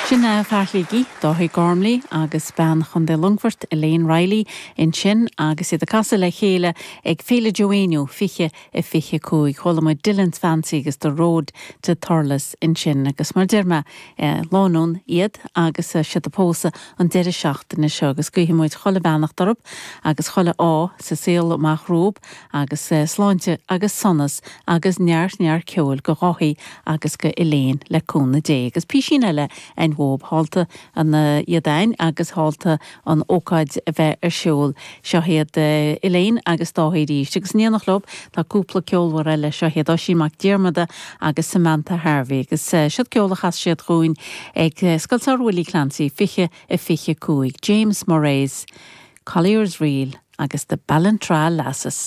Sin fear Shligigh, Dáithí Gormley agus bean Chontae Longfoirt, Elaine Reilly, ansin agus iad ag casadh le chéile ag Féile Joe Éinniú 20 25. Chuala muid Dillon's Fancy agus The Road to Thurles ansin agus mar deir mé, lánúin iad agus siad ag pósadh an deireadh seachtaine seo agus guífidh muid chuile bheannacht orthu agus chuile ádh sa saol amach rompu agus sláinte agus sonas agus neart neart ceoil go Dháithí agus go Elaine le cúnamh Dé. Agus písín eile a'inn dhób, shálta an iad a'inn agus shálta an ócáid a bheith ar siúl. Seo iad Elaine agus Dáithí arís. Agus in éineacht leo tá cúpla ceolmhar eile, seo iad Oisín Mac Diarmada agus Samantha Harvey. Agus siod ceol a chas siad dhúinn ag Scoil Samhraidh Willie Clancy 20 a 25, James Murray's Collier's Reel agus The Ballintra Lasses.